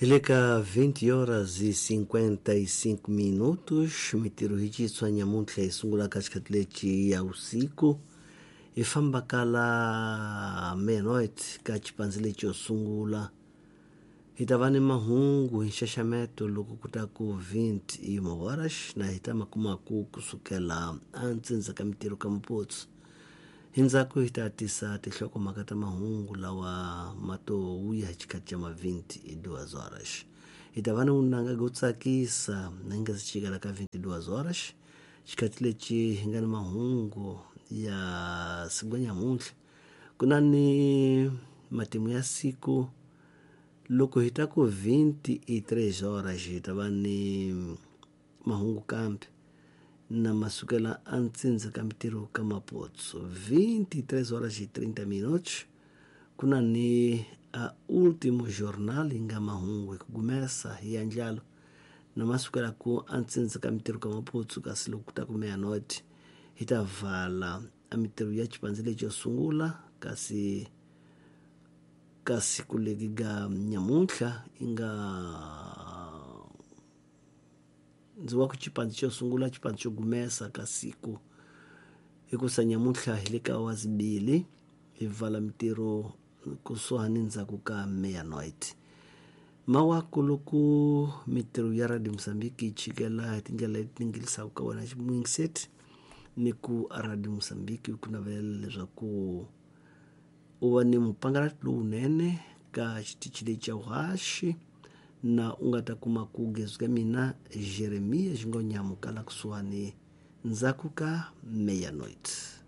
Hi le ka 20 horas e 55 minutos mintirho hi xitshwa nyamuntlha hi sungula ka xikhathi lexi ya usiku hi famba ka la meia-noite ka xipandzi lexi yo sungula hi ta va ni mahungu hi nxaxameto loko ku ta ku 21 horas na hi ta ma kumaku kusukela antsindza ka mintirho ka muputsu hi ndzhaku hi ta tisa tinhlokomhaka ta mahungu lawa ma to wuya hi xikhathi xa ma 22 horas hi ta va ni vunanga byo tsakisa na hi nga si chikela ka 22 horas xikhathi lexi hi nga ni mahungu ya siku nyamuntlha ku na ni matimu ya siku loko hi ta ku 23 horas hi ta va ni mahungu kambe na masukela a ntsindza ka mintirho ka mapotso 23 horas e 30 minutos ku na ni a último jornal yi nga mahungu hi ku gumesa hi ya ndlalo na masukela ku a ntsindza ka mintirho ka mapotso kasi loko ku ta ku meia-noite hi ta vala a mintirho ya xipandzi lexi yo sungula kasi ka siku leri ga nyamuntlha yi nga ndzi wa ku xipandzi xo sungula xipandzi xo gumesa ka siku hikusa nyamuntlha hi le ka wazibili hi vala mintirho kusuhani ndzhaku ka meia-noite mawaku loko mintirho ya radio Mozambique yi chikela hi tindlela leti tingilisaka ka wena ximuyingiseti ni ku a radio Mozambique ku navelela leswaku u va ni mupangalati lowunene ka xitichi lexi xa vuhaxi na u nga ta kuma ku gezi ka mina Jeremiya Xingonyamu kala kusuhani ndzhaku ka meia-noite.